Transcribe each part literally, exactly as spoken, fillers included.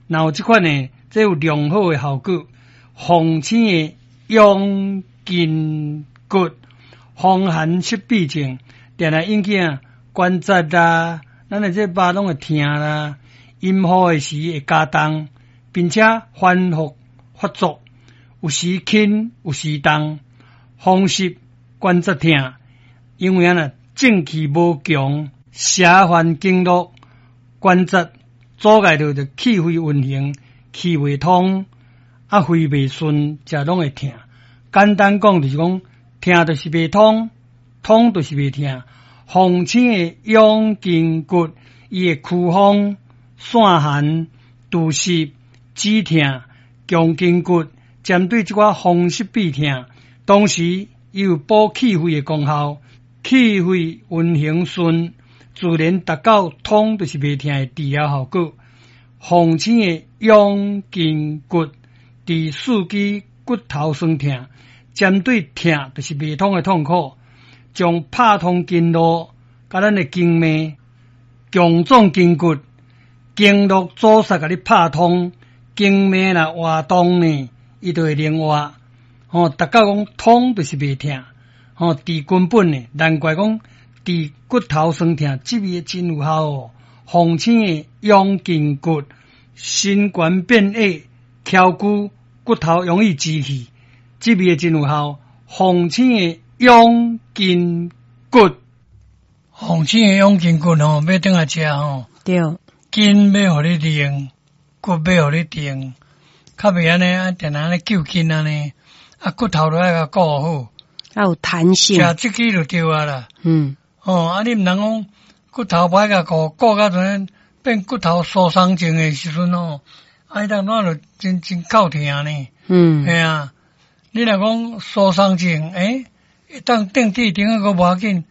若有這款呢，這有良好的效果。防醒的養筋骨，風寒濕痹症，定定引起啊關節啦，咱的這肉攏會疼啦，陰雨的時會加重，並且反覆發作，有時輕有時重，風濕關節疼，因為按呢正氣無強，邪犯經絡關節阻礙著就氣血運行，氣袂通，啊肺袂順，才攏會疼。簡單講就是講，疼就是袂通，通就是袂疼。鳳青的養筋骨，伊會驅風、散寒、除濕、止疼、強筋骨，針對這寡風濕痹疼，同時伊有補氣血的功效，氣血運行順，自然達到通就是袂疼的治療效果。鳳青的養筋骨，治四肢骨頭痠疼，針對疼就是袂通的痛苦，將拍通經絡，佮咱的經脈強壯筋骨，經絡阻塞共你拍通，經脈若活動呢，伊就會靈活。吼，達到講通就是袂疼，吼，治根本的，難怪講治骨頭痠疼，這味真有效哦。鳳青的養筋骨，身懸變矮，翹骨骨頭容易支起，這味真有效。鳳青的養筋骨，鳳青的養筋骨吼，欲轉來食吼，對，筋欲予你練，骨欲予你定，較袂按呢，啊，定定按呢揪筋按呢，啊，骨頭都愛共顧好，較有彈性。食這支就對啊啦。嗯，哦，啊，你毋通講骨頭無愛共顧，顧到陣變骨頭疏鬆症的時陣吼，啊，彼當怎就真真夠疼呢？嗯，嘿啊，你若講疏鬆症，欸，會當定佇頂仔閣無要緊，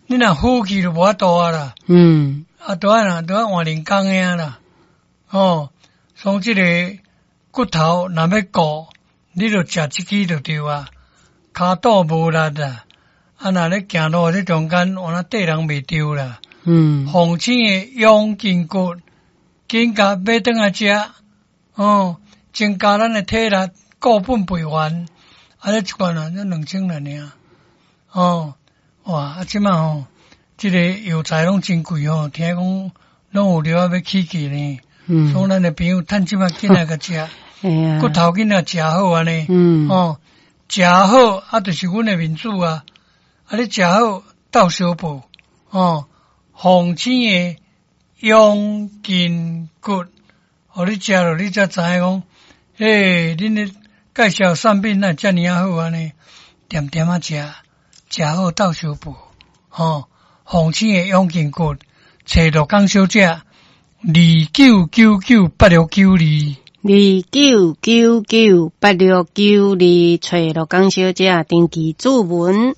你若呼氣就無法度啊啦。嗯，啊，都愛啦，都愛換人工的啊啦。哦，所以這个骨頭若欲顧，你就食這支就對啊。跤肚無力啦，啊，若咧行路這中間，有那綴人袂著啦。嗯，鳳青的養筋骨，緊共買轉來食，哦，增加咱的體力，固本培元。啊，這一罐啊，才兩千來爾。哦，哇，啊，這擺吼，這个藥材攏真貴吼，聽講攏有料仔欲起價呢。嗯，所以咱的朋友趁這擺緊來共食，骨頭緊來食好按呢。嗯，哦，食好啊，就是阮的面子啊。啊，你食好鬥相報，哦，鳳青的養筋骨，予你食落，你才知影講，欸，恁咧介紹產品哪會遮爾仔好按呢？恬恬仔食，食好鬥相報，吼，鳳青的養筋骨，揣陸江小姐，二九九九八六九二，二九九九八六九二，揣陸江小姐，登記注文。